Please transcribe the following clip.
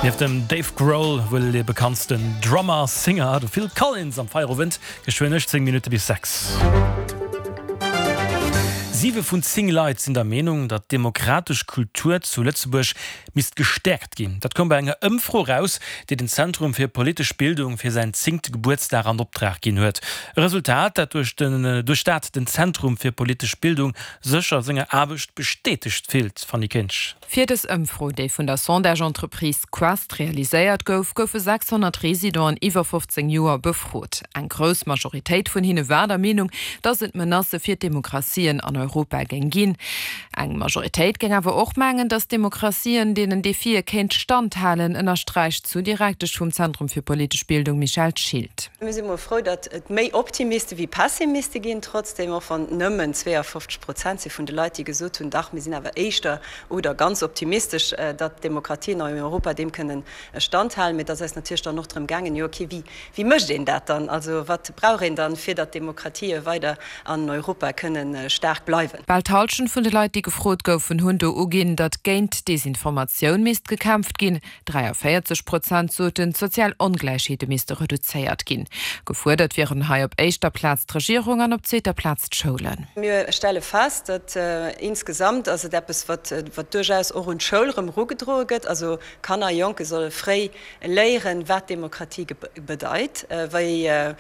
Nieft dem Dave Grohl wuel dee bekanntsten Drummer, Singer, de Phil Collins am Feierowend, geschwënn 18 Minutte bis 6. Siwe vun 10 Leit sinn der Meenung, datt d'demokratesch Kultur zu Lëtzebuerg misst gestäerkt ginn. Dat koum bei enger Ëmfro eraus, déi den Zentrum fir politesch Bildung fir säin zéngte Gebuertsdag an Optrag ginn huet. E Resultat, dat duerch den duerch dat den Zentrum fir politesch Bildung sech a senger Aarbecht bestätegt fillt. Fanny Kinsch. Fir dës Ëmfro, déi vun der Sondage-Entreprise Quest realiséiert gouf, goufe 600 Residenten iwwer 15 Joer befrot. Eng grouss Majoritéit vun hinne war der Meenung, datt et Menacë fir d'Demokratien an Europa géing ginn. Eng Majoritéit géing awer och mengen, datt d'Demokratien deenen Defie kéint standhalen, ënnersträicht d'Sous-Direktesch vum Zentrum fir politesch Bildung Michèle Schilt. Mir si mol frou, datt et méi Optimiste wéi Pessimiste ginn, trotzdem, och wann et nëmmen 52 Prozent si vun de Leit, déi gesot hunn, dach, mir sinn awer éischter oder ganz optimistesch, datt d'Demokratien an Europa deem kënnen standhalen. Mee et ass eis natierlech dann och drëm gaangen, jo okay, wéi, wéi mécht een dat dann? Also wat brauch een dann, fir datt d'Demokratië weider an Europa kënnen staark bleiwen? Bal d'Hallschent vun de Leit, déi gefrot goufen, hunn do uginn, datt géint Desinformatioun misst gekämpft ginn. 43 Prozent soten, d'sozial Ongläichheete misste reduzéiert ginn. Gefuerdert wieren hei op éischter Plaz d'Regierung an op zweeter Plaz d'Schoulen. Mir stelle fest, datt insgesamt ass et eppes, wat duerchaus och un d'Schoul erëm erugedroe gëtt. Also Kanner, Jonke solle fréi léieren, wat Demokratie bedeit, wéi.